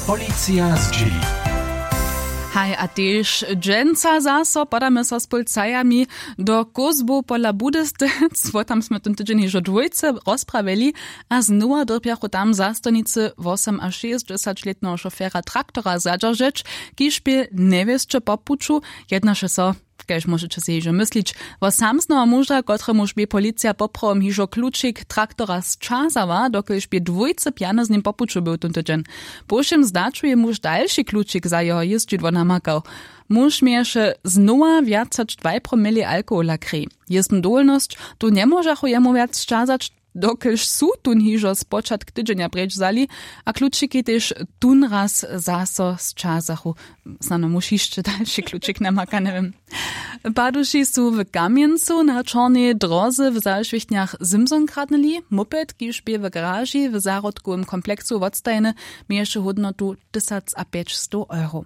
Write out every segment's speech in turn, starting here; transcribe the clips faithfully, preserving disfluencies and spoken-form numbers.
Policija zdźěli. Haj, a tež dźensa zaso podamy so z pólcajami do kózbow pola budystec, wo tam smy tón tydźeń hižo dwójce rozprawili. A znowa dyrbjachu tam zastojnicy wosomašěsćdźesaćlětneho šofera traktora zadźeržeć, kiž bě njewěsće po puću. Jednaše so, kaž móžeće sej hižo myslić, wo samsneho muža, kotremuž bě policija poprawom hižo klučik traktora sćazała, dokelž bě dwójce pjany z nim po puću był tón tydźeń. Po wšěm zdaću je muž dalši klučik za jeho jězdźidło namakał. Muž měješe znowa wjac hač dwaj promili alkohola krej. Jězbnu dowolnosć tu njemóžachu jemu wjac sćazać, dokelž su tón hižo spočatk tydźenja preč wzali, a klučiki tež tón raz zaso sćazachu. Snano muž hišće dalši klučik namaka, njewěm. Paduši su w Kamjencu na čornej dróze w zašwěchtnjach simson kradnyli. Moped, kiž bě w garaži w zahrodkowym kompleksu wotstajeny, měješe hódnotu tysacapjećstow euro.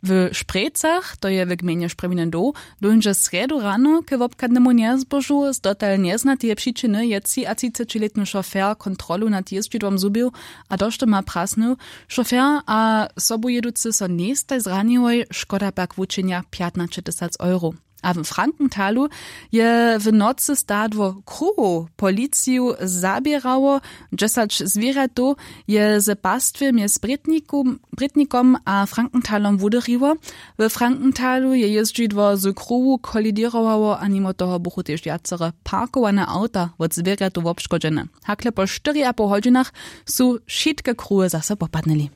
W Šprejcach, to je w gmejnje Šprjewiny doł, dóńdźe srjedu rano k wobchadnemu njezbožu. Z dotal njeznateje přičiny je třiatřicećilětny šofer kontrolu nad jězdźidłom zhubił a došto ma prasnył. Šofer a sobujěducy so njejstaj zraniłoj, škoda pak wučenja pjatnaće tysac euro. A w Frankenthalu je w nocy stadło kruwow policiju zaběrało. Dźesać zwěrjatow je ze pastwje mjez brětnikom a Frankenthalom wudyriło. We Frankenthalu je jězdźidło z kruwu koliděrowało a nimo toho buchu tež wjacere parkowane awta wot zwěrjatow wobškodźene. Hakle po štyriapoł hodźinach su wšitke kruwy zaso popadnyli.